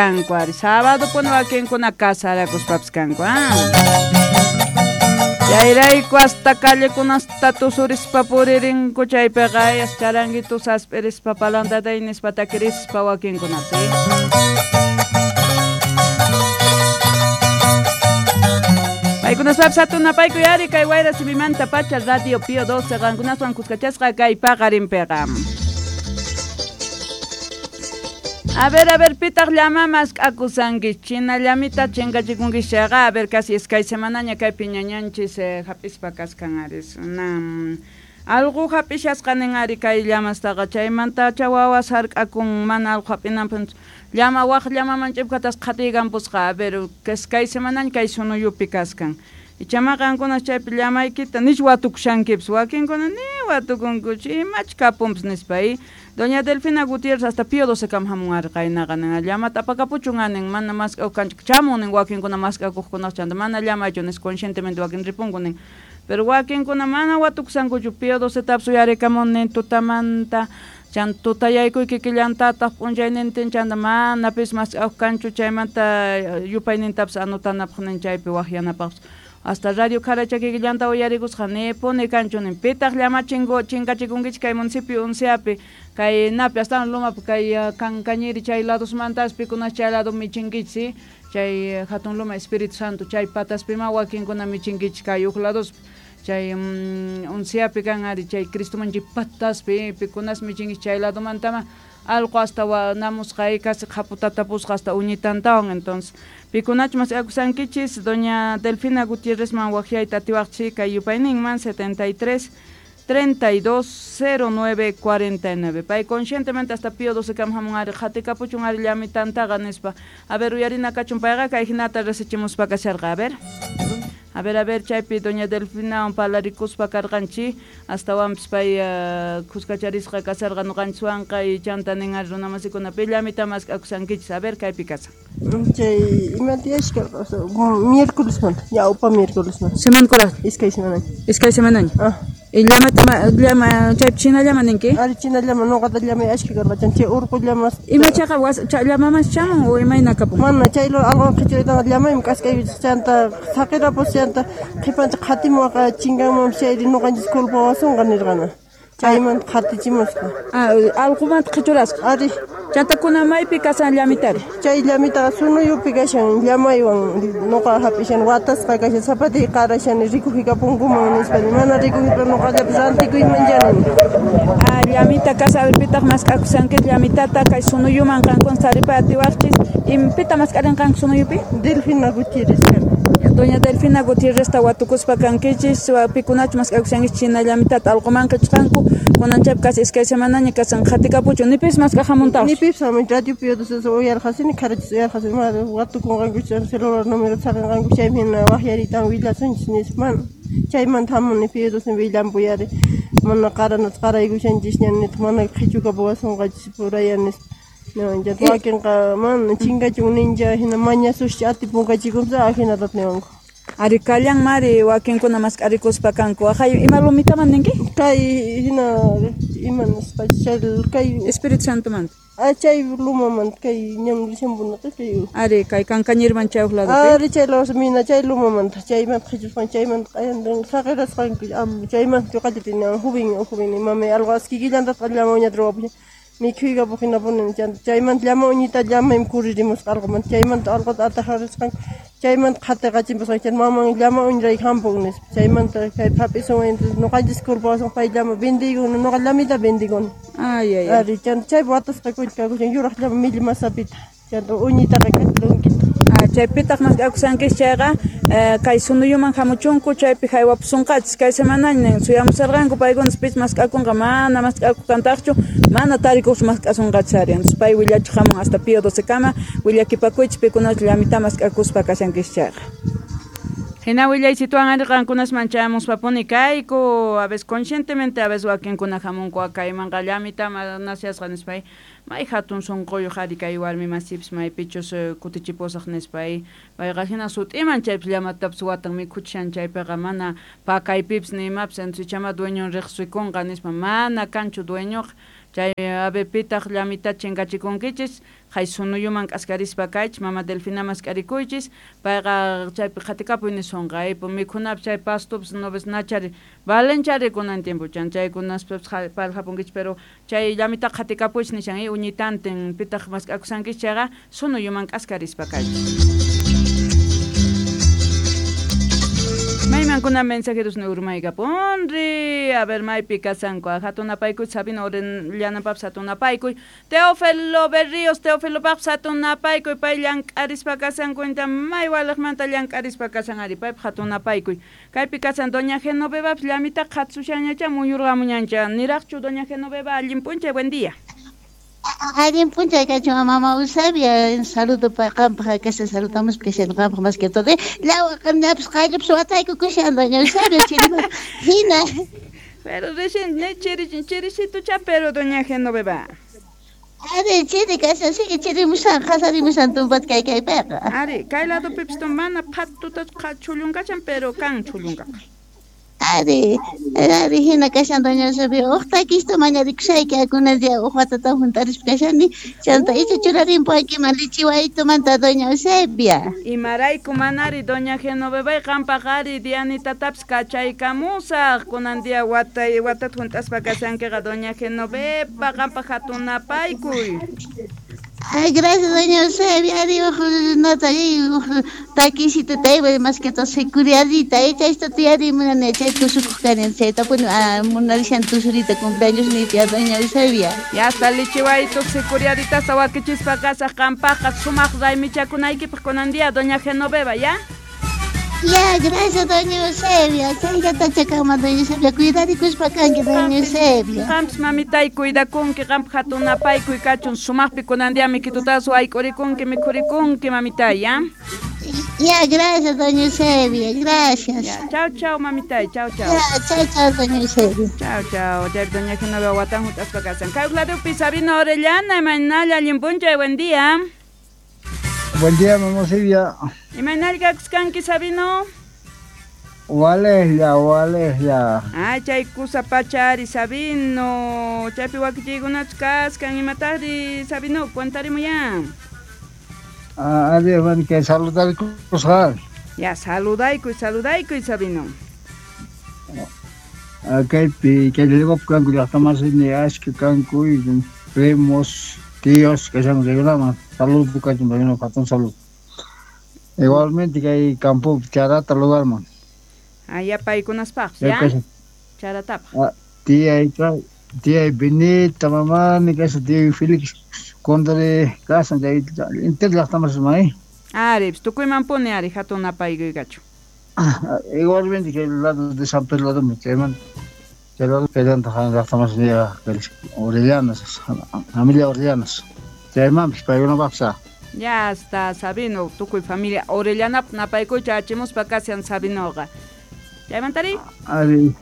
Kanku ari sábado puni wakinkuna casarakuspapis kanku Chayrayku hasta callekunasta tusurispa puririnku chaypiqa charanguitu sasp'irispa palantatay nispa takirispa wakinkunapi. Paykunaspapis hatunapaykuy ari kay wayra simimanta pacha Radio Pío 12 qankunaswan kuskachasqa kay paqarinpiqa. A ver, pitaq llama mask'akusanki china llamita chinkachikunki chayqa a ver casi iskay semanaña kaypi ñañanchis hap'ispa kaskan ari alqu hap'ishasqa nin ari kay llamastaqa chaymantacha wawas hark'akun mana alqu hap'inanpaq llama waq llamaman ch'ipkatas qhatiykanpusqa a ver kay semanaña kay sunuyupi kaskan ichama qankuna chaypi llamaykita nich watukushankipis wakinkuna ni watukunkuchu imach kapunpis nispa Doña Delfina Gutiérrez hasta Pío 12 kam hamun ari qaynaqa nin llamata apakapuchun nin mana mask'akuq kanchik chamun nin wakinkuna mask'akuqkunaq chanta mana llamaychu nis conscientemente wakin ripunku nin pero wakinkuna mana watukusankuchu Pío 12 tapis uyarikamun nin tutamanta chanta tutayaykuy kikillantataq p'unchaynintin chanta mana pis mask'akuq kanchu chaymanta yupaynintapis anotanapaq nin chaypi waqyanapaqpis hasta Radio Karacha kikillanta uyarikusqa nipuni kanchu nin pitaq llama chinkachikunkichik kay municipio Unciapi kay napi hasta lumapi kay Cancañiri chay ladosmantas pikunas chay lado michinkichik chay hatun luma Espíritu Santo chay pataspima wakinkuna michinkichik kay huk ladospi chay Unciapi kan ari chay Cristoman chay pataspi pikunas michinkichik chay ladomantama alqu hasta namusqa casi qhaputatapusqa hasta uñitantawan entonces pikunachu mask'akusankichis doña Delfina Gutiérrezman waqyayta atiwaqchik kay yupayninman 73 32 09 49 pay conscientemente hasta Pío 12 kam hamun ari qhatikapuchun ari llamitantaqa nispa a ver uyarina kachun payqa kay hinata resichimuspa kasharqa a ver A ver, chaypi doña Delfina parlarikuspa karqanchik astawanpis pay kuskacharisqa kasarqa ñuqanchikwanqa y chanta nin ari runamasikuna pi llamita mask'akusankichis a ver kaypi kasan. Chay ima tiyashka miércolesmanta ñawpa miércolesmanta. Semana kuraq. Iskay semanaña. Iskay semanaña. Y llamata llama chaypi china llama ninki? Ari china llama ñuqata llamay ashka karqa chay urqu llamas. Ima chaqa llamamas chamun o imayna kapun? Mana chay alqu qhichuritaqa llamaymi k'askaykuchis chanta saqirapus chanta qhipancha qhatimuwaqa chinkanmanpis chayri ñuqanchis culpawasunqa nirqana. Chaymanta qhatichimusqa. Alqumanta qhichurasqa. Ari. Chanta kuna maypi kasan llamitari? Chay llamitaqa sunuyupi kashan llamaywan ñuqa hap'ishan watasqa kashan zapatiy qarashani rikujikapunkuman nispa mana rikujipa ñuqallapis rantikuyman llani. Llamita kasa a ver pitaq mask'akusanki llamitata kay sunuyuman qankuna taripay atiwaqchis pita mask'arinqanku sunuyupi? Delfina Gutiérrez. Doña Delfina Gutiérrezta watukuspa kankichis pikunachu mask'akusankichis china llamitata alquman qhichqanku kunan chaypi casi iskay semanaña kasan qhatikapuchun nipis mask'aq hamuntawaq nipis hamun Radio Pío 12 uyarqasini Karachis uyarqasini mana watukunqankuchis celular número saqinqanku chaymi hina waqyaritan willasunchis nispa mana chaymanta hamuni Pío 12 willampuyari mana qaranata qaraykushanchisña nitaq mana qhichukapuwasunqachis puraya nispa. No, ya wakinqa mana chinkachun nincha hina mañasuscha atipunkachikunpis ajinatata niwanku. Ari kallan mari wakinkuna mask'arikuspa kanku aqhay ima lumitaman ninki? Kay hina ima nispa chay kay Espíritu Santomanta. Chay lumamanta kay ñan rishampunaqa kay. Ari kay Cancañirman chay huk ladopi. Ari chay lado mina chay lumamanta chaymanta qhichusqan chaymanta q'ayantin saqirasqanku chaymanta ñuqallata joven mamay alqu kikillantataqa llama uñata ruwapushan mikhuykapuq hinapuni chaymanta llama uñita llamaymi kuririmusqa alqumanta chaymanta alquta atajarisqanku chaymanta qhatiqachimpusqanku chay maman llama uñirayku hampun nispa chaymanta kay hap'isun ñuqanchis culpawasun pay llama vendiykuni ñuqa llamita vendiykuni. Ay ay. Ari chanta chaypi watasqa kakushan yuraq llama millmasapita chanta uñitaqa k'achilunkita. Chaypitaq mask'akusankichis chayqa kay sunuyuman hamuchunku chaypi haywapusunqachis kay semanaña nin suyamusarqanku paykunas pis mask'akunqa mana mask'akukantaqchu mana tarikuqchu mask'asunqachis ari entonces pay willachiq hamun hasta Pío 12 kama willakipakuychis pikunachu llamita mask'akuspa kashankichis chayqa. Hina willaysituwan ari qankunasman chayamuspapuni kayku a veces conscientemente a veces wakinkuna hamunku kaymanqa llamita naciasqa nispa may hatun sunquyuq ari kay warmi masipis maypichus kutichipusaq nispa payqa hina sut'iman chaypis llamatapis watan mikhuchishan chaypiqa mana pakaypipis ni imapis entonces ichama dueñon riqsikunqa nispa mana kanchu dueñoqa Chay a ver pitaq llamita chinkachikunkichis hay sunuyuman k'askarispa kaychis mama Delfina mask'arikuychis payqa chaypi qhatikapuy nisonqa mikhunapi chay pastupas noves nachari valenchari kunan tiempo chan chaykunaspis paljapunkichis pero chay llamita qhatikapuychis nishan uñitantin pitaq mask'akusankichis chayqa sunuyuman k'askarispa kaychis. Maymankuna mensajeros ni urmaykapunri a ver maypi kasanku hatunapaykuy Sabino Orellanapapas hatunapaykuy Teófilo Berríos Teófilopaqpas hatunapaykuy pay llank'arispa kasankuinta may waliqmanta llank'arispa kasan ari paypaq hatunapaykuy kaypi kasan doña Genovevapas llamita qhatsushañacha muyurqamuñancha niraqchu doña Genoveva allin p'unchay buen día. Allin p'unchay kachun mama Eusebia, saludo pa qampaq kashan saludamos kashan qampaq más que todo. Lawa qamñapis qallupis wataykukushan doña Eusebia chiriman hina. Pero recién ne chirisitucha pero doña Genoveva. Ari chiri kashan sigue chirimushan qasarimushan tumpat kay kaypiqa. Ari kay ladopipis mana phatuta chullunkachan pero kan chullunkaqa. Ari, ari hina kashan doña Eusebia, uq takista mañarikusayki kunan día uq watata juntarispa kashani, chanta icha churarinpuaykiman lichiwaytumanta doña Eusebia. Imarayku manari doña Genoveva qampaq ari Dianitatapis kachaykamusaq kunan día watata junt'aspa kashankiqa doña Genoveva qampaq hatunapaykuy. Ay, gracias, doña Eusebia. Ari, nota, taquisito, tayba, más que todo, securiadita, esta tía, munane, chay, tusukukanen, chay, tapun, munarishan tusurita, cumpleaños, ni tía, doña Eusebia. Ya está, lichiwayto, securiadita, sawaquichispa, casa, qampaqa, sumaq, raymichakunaykipaq kunan día, doña Genoveva, ¿ya? Ya, gracias, doña Eusebia. Chayllata chakama, doña Eusebia. Cuidarikuspa kanki, doña Eusebia. Qampis mamitay cuidakunki, qampaq hatunapaykuy kachun sumaqpi kunan día mikitutapas wayk'urikunki, mikhurikunki, mamitay, ¿ya? Ya, gracias, doña Eusebia, gracias. Ya, chao, chao, mamitay, chao, chao. Ya, chao, chao, doña Eusebia. Chao, chao. Ya, doña Genoveva watan hunt'aspa kasan. Kay uqladupi Sabino Orellana, imaynalla allin p'unchay, buen día. Buen día, mamá Silvia. Imaynalla kanki Sabino? Waleslla, waleslla. Ay, chay kusa pachari Sabino. Chaypi wakichiykunachu kaskan imataqri Sabino, cuentarimuyan. Adiós, bueno, que saludarkus. Ya, saludaykuy, saludaykuy Sabino. Kaypi, kay llaqtapi kanku llaqtamasini ashka kanku, primos, tíos, que son regionales. Saludos, kachun, regional, hatun saludo. Igualmente que hay campo charata lugar man. Allá paykunaspaq, ¿ya? Charatapaq. Tía tía Benita, mamá, ni casa tía Félix, Condre, casa, entero llaqtamas may. Ari, tukuyman puni ari hatun apaykuy kachu. Igualmente que el lado de San Pedro lado me chayman. Chay lado chaylanta llaqtamas Orellanas, familia Orellanas. Chaymanpis paykunapaqsa. Ya está, Sabino, tukuy familia Orellanap napaykuy chachimuspa kashan Sabinoqa. Chaymantari? Ari.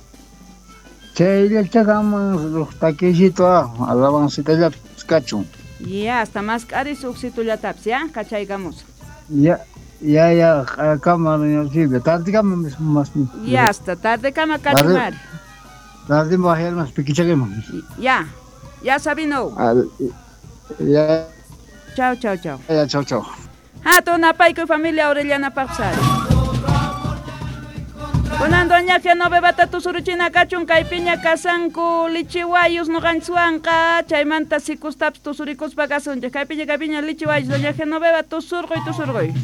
Chayllachakaman uq takisito alabancitallapis kachun. Ya, hasta mask'aris uqsitullatapis, ya, kachaykamusaq. Ya, ya, ya, kama doña Silvia, tardekama más. Ya, hasta tardekama kachun ari. Tarde bajarmas pikichakiman. Ya, ya Sabino. Ya. Chao, chao, chao. Ya, chao, chao. Hatun apaykuy familia Orellanapaq sari. Kunan doña Genovevata tusuruchina kachun kaypiña kasanku lichiwayus ñuqanchikwanqa chaymanta sikustapis tusurikuspa kasunchik kaypiña kaypiña lichiwayus doña Genoveva tusurquy tusurquy.